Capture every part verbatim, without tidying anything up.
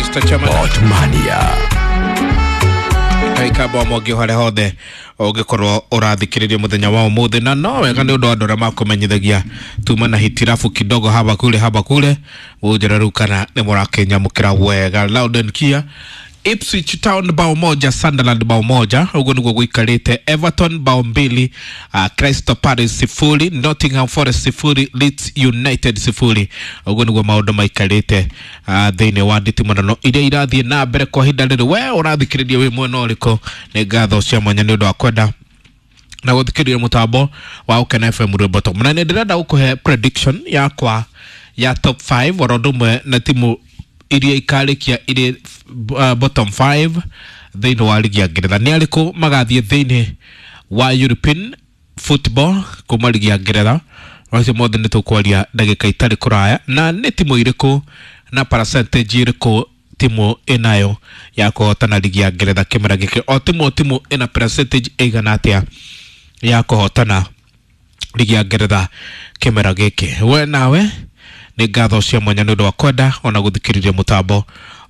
Mister Chairman. Otmania. Kaikamba mwangi haria hothe ungikorwo urathikiriria muthenya wa umuthi, na no wega ni undu wa andu aria makumenyithagia tuma na hitirafu kidogo haba kule haba kule unjira riu kana ni murakinyamukira wega. Loud and clear. Ipswich Town bao moja, Sunderland bao moja, uguo niguo guikarite. Everton bao mbili, uh, Crystal Palace sifuri, Nottingham Forest sifuri, Leeds United sifuri. Uguo niguo maundu maikarite uh, thiini wa nditimũrano iria irathiĩ na mbere kwa ihinda rĩrĩ. We ũrathikĩrĩria wĩ mwena ũrĩkũ? Nĩ ngatho cia mwanya nĩ ũndũ wa kwenda na gũthikĩrĩria mũtambo wa Ũkena F M rwĩmbo top. Na nĩ ndĩrenda gũkũhe prediction yakwa ya top five oro ũndũ ũmwe na timu iria ikarĩkia irĩ uh, bottom five thĩinĩ wa ligi ya Ngeretha. Nĩ arĩkũ magathiĩ thĩinĩ wa European football kuma ligi ya Ngeretha? Macio mothe nĩ tũkwaria ndagĩka itarĩ kũraya, na nĩ timu irĩkũ na percentage irĩkũ timu ĩnayo ya kũhotana ligi ya Ngeretha kĩmera gĩkĩ. O timu o timu ĩna percentage ĩigana atĩa ya kũhotana ligi ya Ngeretha kĩmera gĩkĩ? We nawe nĩ ngatho cia mwanya nĩ ũndũ wa kwenda ona gũthikĩrĩria mũtambo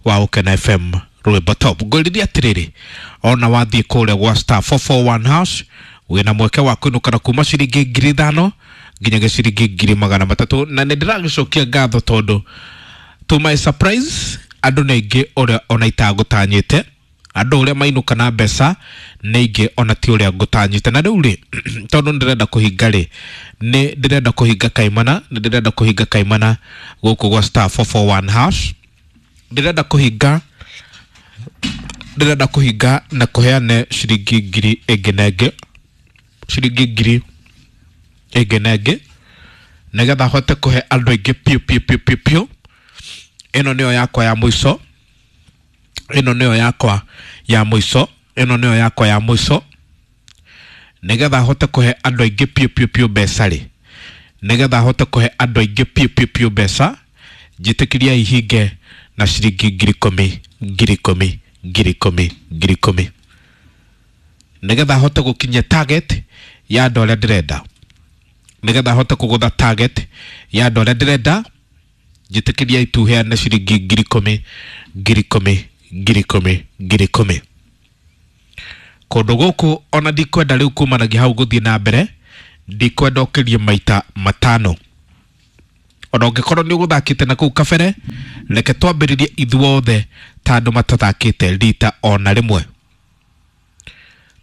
wa Ũkena F M rwĩmbo top. Ngũrĩria atĩrĩrĩ, ona wathiĩ kũrĩa gwa star four four one hash wĩna mweke wa kũinũkana kuma ciringi ngiri ithano nginyagia ciringi ngiri magana matatũ, na nĩ ndĩragĩcokia ngatho tondũ to my surprise andũ nĩ aingĩ ũrĩa ona itagũtanyĩte, andũ ũrĩa mainũka na mbeca nĩ aingĩ ona ti ũrĩa ngũtanyĩte. Na rĩu rĩ, tondũ nĩndĩrenda kũhinga rĩ, nĩ ndĩrenda kũhinga kaimana, nĩ ndĩrenda kũhinga kaimana gũkũ gwa star four four one hash. Ndĩrenda kũhinga, ndĩrenda kũhinga na kũheane ciringi ngiri ĩngĩ na ĩngĩ, ciringi ngiri ĩngĩ na ĩngĩ, nĩgetha hote kũhe andũ aingĩ piũ piũ piũ piũ piũ. Ĩno nĩyo yakwa ya mũico, ĩno nĩyo yakwa ya mũico, ĩno nĩyo yakwa ya mũico, nĩgetha hote kũhe andũ aingĩ piũ piũ piũ mbeca rĩ, nĩgetha hote kũhe andũ aingĩ piũ piũ piũ mbeca, njĩtĩkĩria ihinge na ciringi ngiri ikũmi, ngiri ikũmi, ngiri ikũmi, ngiri ikũmi, nĩgetha hote gũkinyia target ya andũ arĩa ndĩrenda, nĩgetha hote kũgũtha target ya andũ arĩa ndĩrenda, njĩtĩkĩria ituheane ciringi ngiri ikũmi, ngiri ikũmi, ngiri ikũmi, ngiri ikũmi. Kũndũ gũkũ ona ndikwenda rĩu kumanagia hau gũthiĩ na mbere, ndikwenda ũkĩrie maita matano. Ona ũngĩkorwo nĩ ũgũthakĩte na kũu kabere, reke twambĩrĩrie ithuothe ta andũ matathakĩte rita ona rĩmwe.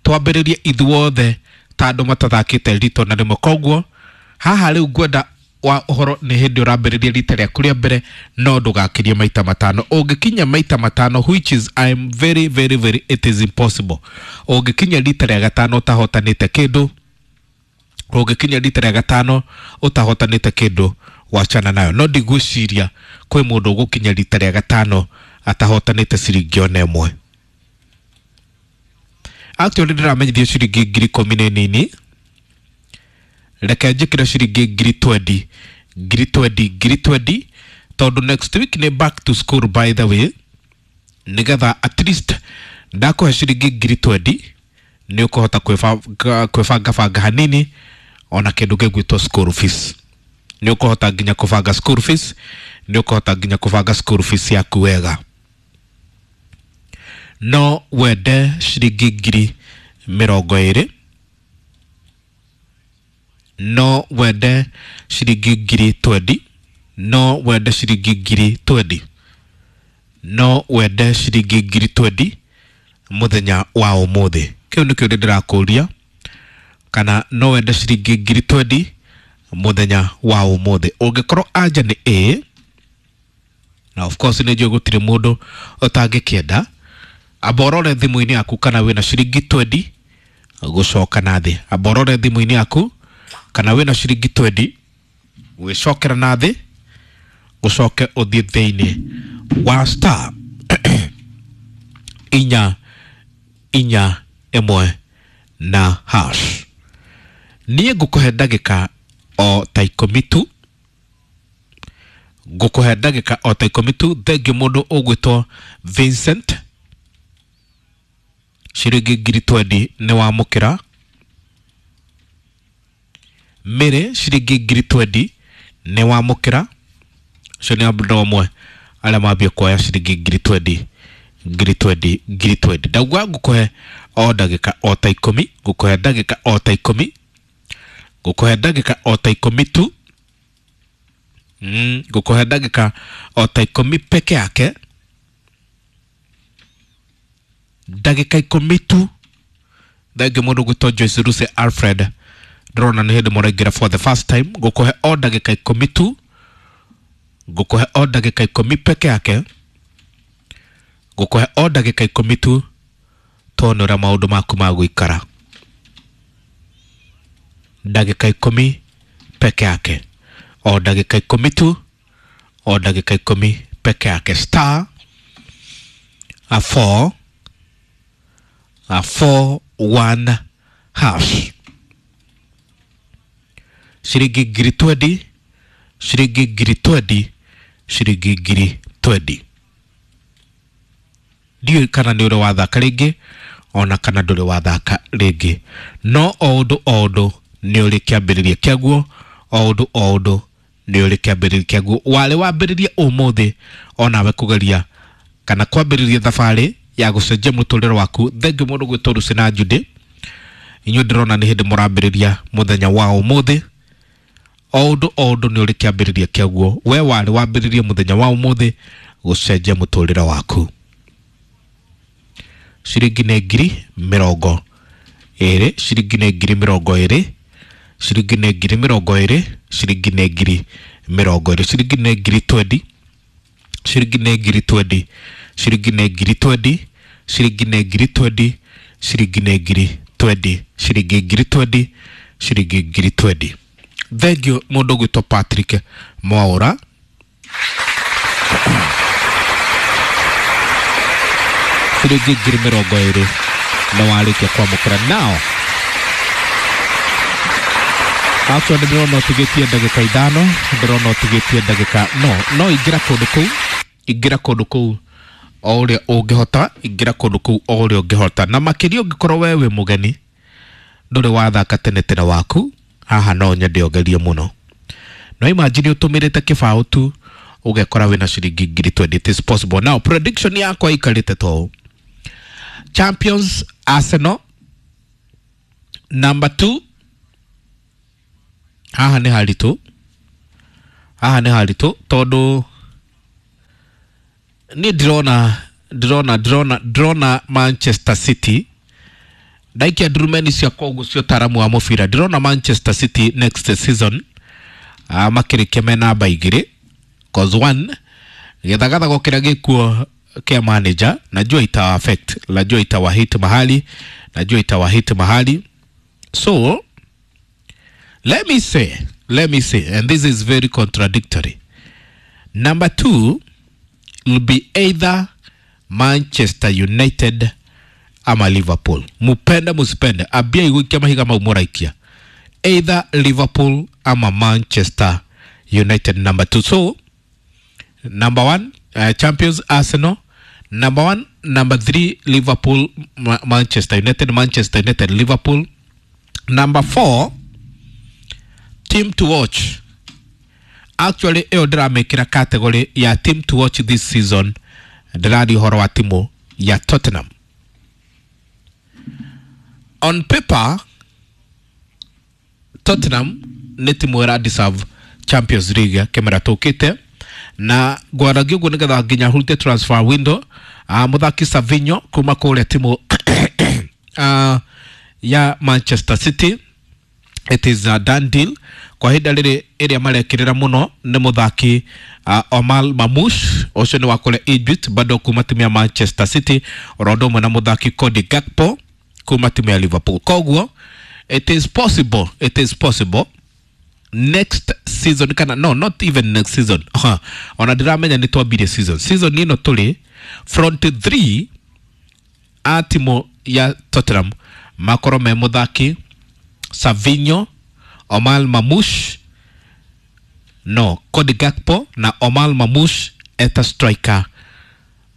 Twambĩrĩrie ithuothe ta andũ matathakĩte rita ona rĩmwe. Koguo haha rĩu ngwenda wa ũhoro nĩ hĩndĩ ũrambĩrĩria rita rĩaku rĩa mbere, no ndũgakĩrie maita matano. Ũngĩkinya maita matano, which is I am very very very it is impossible. Ũngĩkinya rita rĩa gatano ũtahotanĩte kĩndũ, ũngĩkinya rita rĩa gatano ũtahotanĩte kĩndũ, wachana nayo. No ndigwĩciria kwĩ mũndũ ũgũkinya rita rĩa gatano atahotanĩte ciringi ona ĩmwe. Actually ndĩramenyithio ciringi ngiri ikũmi nĩ nini, reke njĩkĩre ciringi ngiri twenty, ngiri twenty, ngiri twenty, tondũ next week nĩ back to school by the way, nĩgetha at least ndakũhe ciringi ngiri twenty nĩ ũkũhota kwĩbanga, kwĩbangabanga hanini ona kĩndũ gĩgwĩtwo school fees. Nĩ ũkũhota nginya kũbanga school fees, nĩ ũkũhota nginya kũbanga school fees yaku wega. No wende ciringi ngiri mĩrongo ĩrĩ, no wende ciringi ngiri twenty, no wende ciringi ngiri twenty, no wende ciringi ngiri twenty mũthenya wa ũmũthĩ. Kĩu nĩkĩo ndĩrakũria, kana no wende ciringi ngiri twenty mũthenya wa ũmũthĩ. Ũngĩkorwo anja nĩ ĩĩ, na of course nĩ njũĩ gũtirĩ mũndũ ũtangĩkĩenda, amba ũrore thimũ-inĩ yaku kana wĩna ciringi twenty gũcoka na thĩ. Amba ũrore thimũ-inĩ yaku kana wĩna ciringi twenty gwĩcokera na thĩ, ũcoke ũthiĩ thĩinĩ wa star inya inya ĩmwe na hash. Niĩ ngũkũhe ndagĩka o ta ikũmi tu, ngũkũhe ndagĩka o ta ikũmi tu. Thengiũ mũndũ ũgwĩtwo Vincent, ciringi ngiri twenty nĩ wamũkĩra. Mary, ciringi ngiri twenty nĩ wamũkĩra. Ũcio nĩ andũ amwe Arĩa mambia kuoya ciringi ngiri twendi ngiri twendi ngiri twendi. Ndauga ngũkũhe o ndagĩka o ta ikũmi, ngũkũhe ndagĩka o ta ikũmi, ngũkũhe ndagĩka o ta ikũmi tu. Mm, ngũkũhe ndagĩka o ta ikũmi peke yake, ndagĩka ikũmi tu. Thengiũ mũndũ gwĩtwo Joyce Ruse Alfred, ndĩrona nĩ hĩndĩ mũraingĩra for the first time. Ngũkũhe o ndagĩka ikũmi tu, ngũkũhe o ndagĩka ikũmi peke yake, ngũkũhe o ndagĩka ikũmi tu, tuone ũrĩa maũndũ maku magũikara. Ndagĩka ikũmi peke yake, o ndagĩka ikũmi tu, o ndagĩka ikũmi peke yake. Star a four a four one hash. Ciringi ngiri twendi, ciringi ngiri twendi, ciringi ngiri twendi. Ndiũĩ kana nĩ ũrĩ wathaka rĩngĩ ona kana ndũrĩ wathaka rĩngĩ, no o ũndũ o ũndũ nĩ ũrĩ kĩambĩrĩria kĩaguo, o ũndũ o ũndũ nĩ ũrĩ kĩambĩrĩria kĩaguo. Warĩ wambĩrĩrie ũmũthĩ onawe kũgeria kana kwambĩrĩria thabarĩ ya gũcenjia mũtũrĩre waku. Thengiũ mũndũ gwĩtwo Lucy na Judy, inyuĩ ndĩrona nĩ hĩndĩ mũrambĩrĩria mũthenya wa ũmũthĩ. O ũndũ o ũndũ nĩ ũrĩ kĩambĩrĩria kĩaguo. We warĩ wambĩrĩrie mũthenya wa ũmũthĩ gũcenjia mũtũrĩre waku. Ciringi nĩ ngiri mĩrongo ĩrĩ, ciringi nĩ ngiri mĩrongo ĩrĩ, ciringi nĩ ngiri mĩrongo ĩrĩ, ciringi nĩ ngiri mĩrongo ĩrĩ, ciringi nĩ ngiri twendi, ciringi nĩ ngiri twendi, ciringi nĩ ngiri twendi, ciringi nĩ ngiri twendi, ciringi nĩ ngiri twendi, ciringi ngiri twendi, ciringi ngiri twendi. Thengiũ mũndũ ũgwĩtwo Patrick Mwaũra. Ciringi ngiri mĩrongo ĩrĩ na warĩkia kwamũkĩra. Now actually ndĩrona ũtigĩtie ndagĩka ithano, ndĩrona ũtigĩtie ndagĩka, no no ingĩra kũndũ kũu, ingĩra kũndũ kũu o ũrĩa ũngĩhota, ingĩra kũndũ kũu o ũrĩa ũngĩhota, na makĩria ũngĩkorwo we wĩ mũgeni ndũrĩ wathaka tene tene waku, haha no nyende ũgerie mũno. No imagine ũtũmĩrĩte kĩbaũ tu ũgekora wĩna ciringi ngiri twenty. It is possible. Now prediction yakwa ikarĩte to Champions Arsenal, number two. Haha nĩ haritũ, haha nĩ haritũ tondũ niĩ ndĩrona ndĩrona ndĩrona ndĩrona Manchester City. Ndaikia ndurumeni ciakwa ũguo cia ũtaaramu wa mũbira, ndĩrona Manchester City next season uh, makĩrĩkia me namba igĩrĩ, cause one gĩthagathago kĩrĩa gĩkuo kĩa manager najua itawa affect, najua itawa hit mahali, najua itawa hit mahali. So let me say, let me say, and this is very contradictory, number two will be either Manchester United ama Liverpool. Mupende musipende, abia igũikia mahiga mau mũraikia, either Liverpool ama Manchester United number two. So number one, uh, Champions Arsenal, number one, number three Liverpool, Ma Manchester United, Manchester United, Liverpool. Number four, team to watch. Actually ĩyo ndĩramĩkĩra category ya team to watch this season. Ndĩraria ũhoro wa timu ya Tottenham. On paper Tottenham nĩ timu ĩra deserve Champions League kĩmera tũkĩte, na ngwaragia ũguo nĩgetha nginya hurute transfer window. Uh, mũthaki Savinho kuma kũrĩa timu uh, ya Manchester City, it is a done deal. Kwa ihinda rĩrĩ ĩrĩa marekĩrĩra mũno nĩ mũthaki uh, Omar Mamouche, ũcio nĩ wa kũrĩa Egypt, bado kuma timu ya Manchester City, oro ũndũ ũmwe na mũthaki Cody Gakpo kuma timu ya Liverpool. Koguo it is possible, it is possible next season kana no not even next season, uh, ona ndiramenya nĩ twambirie season season ĩno tũrĩ front three a timu ya Tottenham makorwo me mũthaki Savinho, Omar Mamouche, no Cody Gakpo na Omar Mamouche eta striker.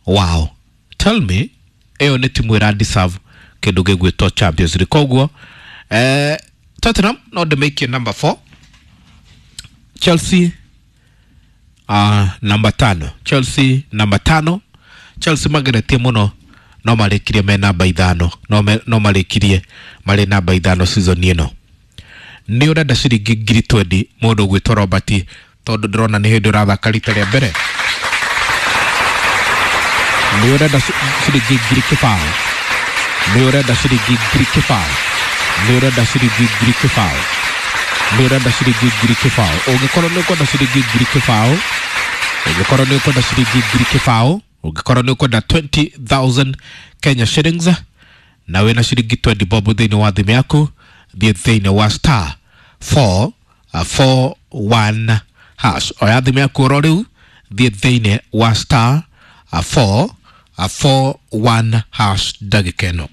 Wow, tell me ĩyo nĩ timu ĩra deserve kĩndũ gĩgwĩtwo Champions League. Koguo eh, Tottenham no ndĩmĩikie number four, Chelsea uh, namba tano. Chelsea namba tano. Chelsea mageretie muno no marĩkirie me namba ithano, no, me, no marĩkirie marĩ namba ithano season ĩno. Nĩ ũrenda ciringi ngiri twendi mũndũ ũgwĩtwo Robert, tondũ ndĩrona nĩ hĩndĩ ũrathaka rita rĩa mbere. Nĩ ũrenda ciringi ngiri kĩbaũ, nĩ ũrenda ciringi ngiri kĩbaũ, nĩ ũrenda ciringi ngiri kĩbaũ, nĩ ũrenda ciringi ngiri kĩbaũ. Ũngĩkorwo nĩ ũkwenda ciringi ngiri kĩbaũ, ũngĩkorwo nĩ ũkwenda ciringi ngiri kĩbaũ, ũngĩkorwo nĩ ũkwenda twenty thousand Kenya shillings na wĩna ciringi twenty bob thĩinĩ wa thimũ yaku, thiĩ thĩinĩ wa star four four one hash. Oya thimũ yaku oro rĩu, thiĩ thĩinĩ wa star four four one hash ndagĩka ĩno.